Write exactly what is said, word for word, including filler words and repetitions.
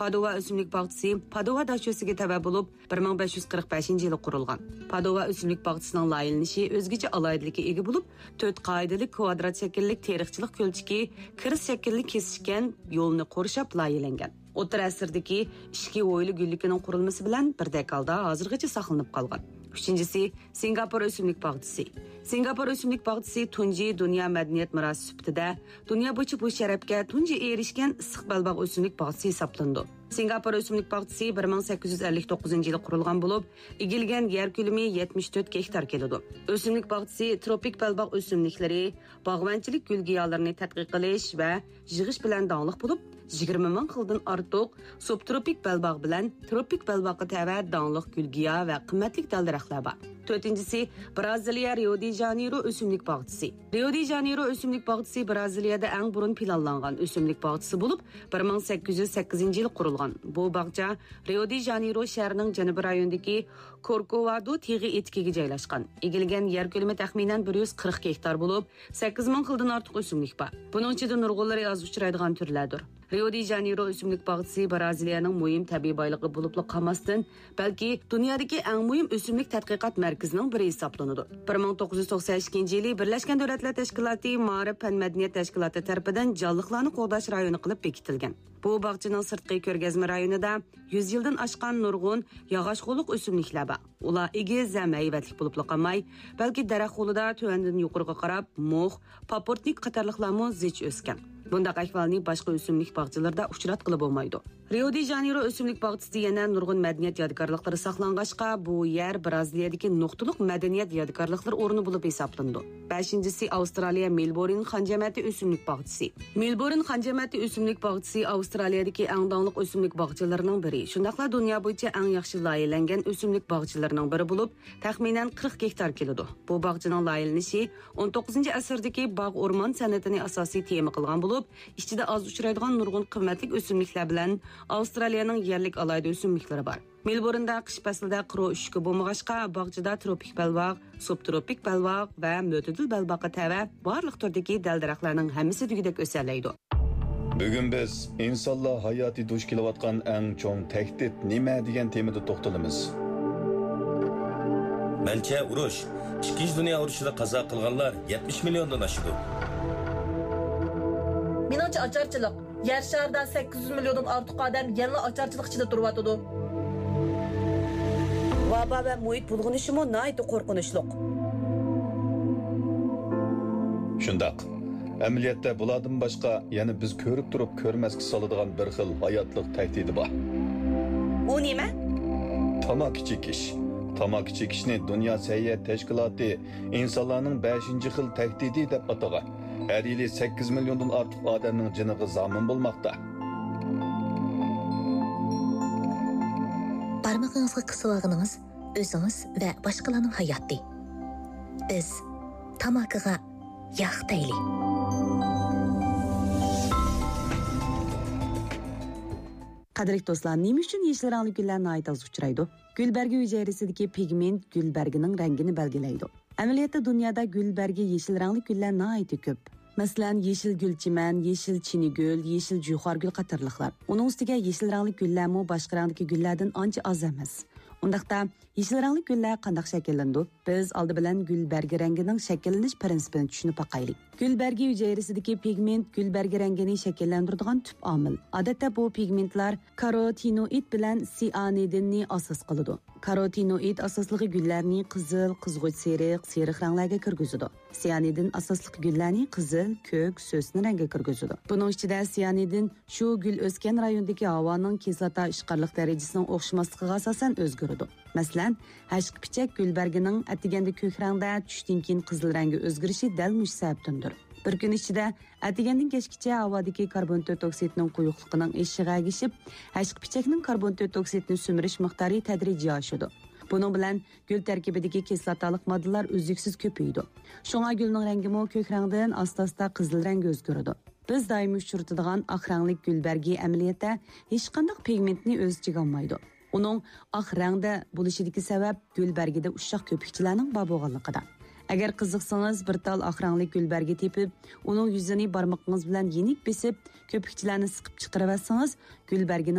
پادوۋا ئۆسۈملۈك باغچىسى پادوۋا داشۆسىگە تەۋە بولۇپ، بىر مىڭ بەش يۈز قىرىق بەشىنچى يىلى قۇرۇلغان. پادوۋا ئۆسۈملۈك باغچىسىنىڭ لايىھەلىنىشى ئۆزگىچە ئالاھىدىلىككە ئىگە بولۇپ، تۆت قائىدىلىك كۋادرات شەكىللىك تېرىقچىلىق كۆلچىكى، كىرىس شەكىللىك كېسىشكەن يولنى قورشاپ لايىھەلەنگەن. ئوتتۇرا ئەسىردىكى ئىچكى ھويلا گۈللۈكىنىڭ قۇرۇلمىسى بىلەن بىردەك ھالدا ھازىرغىچە ساقلىنىپ قالغان. ئۈچىنچىسى، سىنگاپور ئۆسۈملۈك باغچىسى. سىنگاپور ئۆسۈملۈك باغچىسى تۇنجى دۇنيا مەدەنىيەت مىراسى سۈپىتىدە دۇنيا بويىچە بۇ شەرەپكە تۇنجى ئېرىشكەن ئىسسىق بەلباغ ئۆسۈملۈك باغچىسى ھېسابلىنىدۇ. سىنگاپور ئۆسۈملۈك باغچىسى بىر مىڭ سەككىز يۈز ئەللىك توققۇزىنچى يىلى قۇرۇلغان بولۇپ، ئىگىلىگەن يەر كۆلىمى يەتمىش تۆت گېكتار كېلىدۇ. ئۆسۈملۈك باغچىسى تروپىك بەلباغ ئۆسۈملۈكلىرى، باغۋەنچىلىك گۈل-گىيالىرىنى تەتقىق قىلىش ۋە يىغىش بىلەن داڭلىق بولۇپ، يىگىرمە مىڭ خىلدىن ئارتۇق سۇبتروپىك بەلباغ بىلەن تروپىك بەلباغقا تەۋە داڭلىق گۈل-گىيا ۋە قىممەتلىك دەل-دەرەخلەر بار. تۆتىنچىسى، برازىلىيە رىيو دې ژانېيرو ئۆسۈملۈك باغچىسى. رىيو دې ژانېيرو ئۆسۈملۈك باغچىسى برازىلىيەدە ئەڭ بۇرۇن پىلانلانغان ئۆسۈملۈك باغچىسى بولۇپ، بىر مىڭ سەككىز يۈز سەككىزىنچى يىلى قۇرۇلغان. بۇ باغچە رىيو دې ژانېيرو شەھىرىنىڭ جەنۇبىي رايونىدىكى كوركوۋادو تېغى ئېتىكىگە جايلاشقان. ئىگىلىگەن يەر كۆلىمى تەخمىنەن بىر يۈز قىرىق گېكتار بولۇپ، سەككىز مىڭ خىلدىن ئارتۇق ئۆسۈملۈك بار. بۇنىڭ ئىچىدە نۇرغۇنلىرى ئاز ئۇچرايدىغان تۈرلەردۇر. رىيو دې ژانېيرو ئۆسۈملۈك باغچىسى برازىلىيەنىڭ مۇھىم تەبىئىي بايلىقى بولۇپلا قالماستىن، بەلكى دۇنيادىكى ئەڭ مۇھىم ئۆسۈملۈك تەتقىقات مەركىزىنىڭ بىرى ھېسابلىنىدۇ. بىر مىڭ توققۇز يۈز توقسەن ئىككىنچى يىلى بىرلەشكەن دۆلەتلەر تەشكىلاتى مائارىپ پەن مەدەنىيەت تەشكىلاتى تەرىپىدىن جانلىقلارنى قوغداش رايونى قىلىپ بېكىتىلگەن. بۇ باغچىنىڭ سىرتقى كۆرگەزمە رايونىدا يۈز يىلدىن ئاشقان نۇرغۇن ياغاچ غوللۇق ئۆسۈملۈكلەر بار. ئۇلار ئېگىز ھەم ھەيۋەتلىك بولۇپلا قالماي، بەلكى دەرەخ غولىدا تۆۋەندىن يۇقىرىغا قاراپ مۇخ، پاپورتنىك قاتارلىقلارمۇ زىچ ئۆسكەن. بۇنداق ئەھۋالنى باشقا ئۆسۈملۈك باغچىلىرىدا ئۇچراتقىلى بولمايدۇ. رىيو دې ژانېيرو ئۆسۈملۈك باغچىسىدا يەنە نۇرغۇن مەدەنىيەت يادىكارلىقلىرى ساقلانغاچقا، بۇ يەر برازىلىيەدىكى نۇقتىلىق مەدەنىيەت يادىكارلىقلىرى ئورنى بولۇپ ھېسابلىنىدۇ. بەشىنچىسى، ئاۋسترالىيە مېلبورن خان جەمەتى ئۆسۈملۈك باغچىسى. مېلبورن خان جەمەتى ئۆسۈملۈك باغچىسى ئاۋسترالىيەدىكى ئەڭ داڭلىق ئۆسۈملۈك باغچىلىرىنىڭ بىرى، شۇنداقلا دۇنيا بويىچە ئەڭ ياخشى لايىھەلەنگەن ئۆسۈملۈك باغچىلىرىنىڭ بىرى بولۇپ، تەخمىنەن قىرىق گېكتار كېلىدۇ. بۇ باغچىنىڭ لايىھەلىنىشى ئون توققۇزىنچى ئەسىردىكى باغ ئورمان سەنئىتىنى ئاساسىي تېما قىلغان بولۇپ، ئىچىدە ئاز ئۇچرايدىغان نۇرغۇن قىممەتلىك ئۆسۈملۈكلەر بىلەن ئاۋسترالىيەنىڭ يەرلىك ئالاھىدە ئۆسۈملۈكلىرى بار. مېلبورندا قىش پەسلىدە قۇرۇ ئۈششۈكى بولمىغاچقا، باغچىدا تروپىك بەلباغ، سۇبتروپىك بەلباغ ۋە مۆتىدىل بەلباغقا تەۋە بارلىق تۈردىكى دەل-دەرەخلەرنىڭ ھەممىسى دېگۈدەك ئۆسەلەيدۇ. بۈگۈن بىز ئىنسانلار ھاياتى دۇچ كېلىۋاتقان ئەڭ چوڭ تەھدىت نېمە دېگەن تېمىدا توختىلىمىز. مەنچە ئۇرۇش، ئىككىنچى دۇنيا ئۇرۇشىدا قازا قىلغانلار يەتمىش مىليوندىن ئاشىدۇ. مېنىڭچە ئاچارچىلىق. يەر شارىدا سەككىز يۈز مىليوندىن ئارتۇق ئادەم يەنىلا ئاچارچىلىق ئىچىدە تۇرۇۋاتىدۇ. ۋابا ۋە مۇھىت بۇلغىنىشىمۇ ناھايىتى قورقۇنچلۇق. شۇنداق. ئەمەلىيەتتە بۇلاردىن باشقا يەنە بىز كۆرۈپ تۇرۇپ كۆرمەسكە سالىدىغان بىر خىل ھاياتلىق تەھدىتى بار. ئۇ نېمە؟ تاماكا چېكىش. تاماكا چېكىشنى دۇنيا سەھىيە تەشكىلاتى ئىنسانلارنىڭ بەشىنچى خىل تەھدىتى دەپ ئاتىغان. ھەر يىلى سەككىز مىليوندىن ئارتۇق ئادەمنىڭ جېنىغا زامىن بولماقتا. بارمىقىڭىزغا قىسىۋالغىنىڭىز ئۆزىڭىز ۋە باشقىلارنىڭ ھاياتى. بىز تاماكىغا ياق دەيلى. قەدىرلىك دوستلار، نېمە ئۈچۈن يېشىل رەڭلىك گۈللەر ناھايىتى ئاز ئۇچرايدۇ؟ گۈل بەرگى ھۈجەيرىسىدىكى پىگمېنت گۈل بەرگىنىڭ رەڭگىنى بەلگىلەيدۇ. ئەمەلىيەتتە دۇنيادا گۈل بەرگى يېشىل رەڭلىك گۈللەر ناھايىتى كۆپ. مەسىلەن، يېشىل گۈلچىمەن، يېشىل چىنىگۈل، يېشىل جۇيخارگۈل قاتارلىقلار. ئۇنىڭ ئۈستىگە يېشىل رەڭلىك گۈللەرمۇ باشقا رەڭدىكى گۈللەردىن ئانچە ئاز ئەمەس. ئۇنداقتا، يېشىل رەڭلىك گۈللەر قانداق شەكىللىنىدۇ؟ بىز ئالدى بىلەن گۈل بەرگى رەڭگىنىڭ شەكىللىنىش پىرىنسىپىنى چۈشىنىپ باقايلى. گۈل بەرگى ھۈجەيرىسىدىكى پىگمېنت گۈل بەرگى رەڭگىنى شەكىللەندۈرىدىغان تۈپ ئامىل. ئادەتتە بۇ پىگمېنتلار كاروتىنوئىد بىلەن سىئانىدىننى ئاساس قىلىدۇ. كاروتىنوئىد ئاساسلىقى گۈللەرنى قىزىل، قىزغۇچ سېرىق، سېرىق رەڭلەرگە كىرگۈزىدۇ. سىئانىدىن ئاساسلىقى گۈللەرنى قىزىل، كۆك، سۆسنە رەڭگە كىرگۈزىدۇ. بۇنىڭ ئىچىدە سىئانىدىن شۇ گۈل ئۆسكەن رايوندىكى ھاۋانىڭ كىسلاتا ئىشقارلىق دەرىجىسىنىڭ ئوخشىماسلىقىغا ئاساسەن ئۆزگىرىدۇ. مەسىلەن، ھەشقىپىچەك گۈل بەرگىنىڭ ئەتىگەندە كۆك رەڭدە، چۈشتىن كېيىن قىزىل رەڭگە ئۆزگىرىشى دەل مۇشۇ سەۋەبتىندۇر. بىر كۈن ئىچىدە ئەتىگەندىن كەچكىچە ھاۋادىكى كاربون تۆت ئوكسىدنىڭ قويۇقلۇقىنىڭ ئېشىشىغا ئەگىشىپ، ھەشقىپىچەكنىڭ كاربون تۆت ئوكسىدنى سۈمۈرۈش مىقدارى تەدرىجىي ئاشىدۇ. بۇنىڭ بىلەن گۈل تەركىبىدىكى كىسلاتالىق ماددىلار ئۈزلۈكسىز كۆپىيىدۇ. شۇڭا گۈلنىڭ رەڭگىمۇ كۆك رەڭدىن ئاستا-ئاستا قىزىل رەڭگە ئۆزگىرىدۇ. بىز دائىم ئۇچرىتىدىغان ئاق رەڭلىك گۈل بەرگى ئەمەلىيەتتە ھېچقانداق پىگمېنتنى ئۆز ئىچىگە ئالمايدۇ. ئۇنىڭ ئاق رەڭدە بولۇشىدىكى سەۋەب گۈل بەرگىدە ئۇششاق كۆپۈكچىلەرنىڭ بار بولغانلىقىدا. ئەگەر قىزىقسىڭىز، بىر تال ئاق رەڭلىك گۈل بەرگى تېپىپ، ئۇنىڭ يۈزىنى بارمىقىڭىز بىلەن يېنىك بېسىپ، كۆپۈكچىلەرنى سىقىپ چىقىرىۋەتسىڭىز، گۈل بەرگىنىڭ